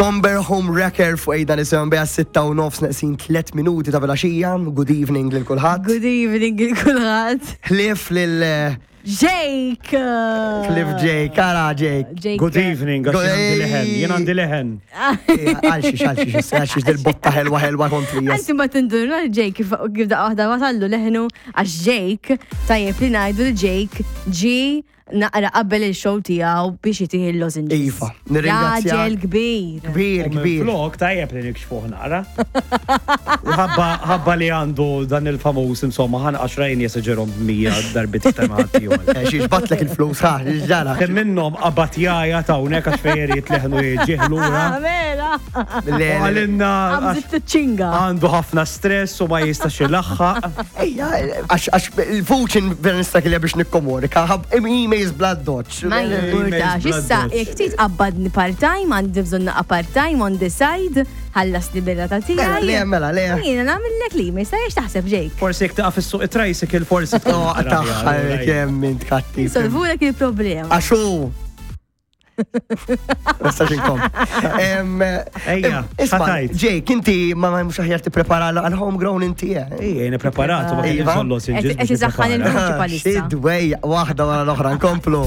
Somber Home Wrecker fuq ejda nisimgħu biha 6:30 neqsin 3 minuti ta' filgħaxija. Good evening lil kulħadd. Good evening lil kulħadd. Ħlief lil Jake! Ħlief Jake, ara Jake. Jake. Good evening, għax jien għandi leħen, jien għandi leħen. Għalxiex, għalxiex, għalxiex dil-botta ħelwa ħelwa kontri. Anzi ma tindurna Jake kif kif daqqa waħda wasallu leħnu għax Jake tajjeb li ngħidu li Jake ġi naqra qabel il-show tiegħu biex itih il-lozenges. Iva, nirringrazzjak. Raġel kbir. Kbir, U minn kbir. Flok tajjeb li nikxfuh naqra. U ħabba ħabba li għandu dan il-famuż insomma ħan għaxrajn jeseġerhom 100 darbit iktar ma' ħaddieħor. Eh, Xiex batlek il-flus, ha, ġara. Kemm minnhom qabad jaja ta' hawnhekk għax fejn irid leħnu jiġih lura. Ah, Mela! U Le, le, għalinna għax Għamżit ċinga. għandu ħafna stress u ma jistax ilaħħaq. Ejja, għax il-vuċin vera nistakilja biex nikkomunika, ħab emails bla doċ. Ma jimpurtax, issa jekk trid qabbadni part-time, għandi bżonn naqa' part-time on the side, ħallas li birra ta' Mela, tiegħi. le, mela, le. Jiena nagħmillek li, ma jistax taħseb Jake. Forsi jekk taqa' fis-suq it-tricycle forsi tkun No, naqra aħjar, taħħa alright. kemm int kattiv. Solvulek il-problema. Għaxu. Nistax inkom. Ejja, Isma, ħatajt. Jake, inti ma mhux aħjar tipprepara għal homegrown inti. eh? Ejja, jien ippreparatu ma kellix Iva. bżonn lozenges Qed biex isaħħan nipprepara. il-vuċi palissa. Xi dwejja waħda wara l-oħra nkomplu.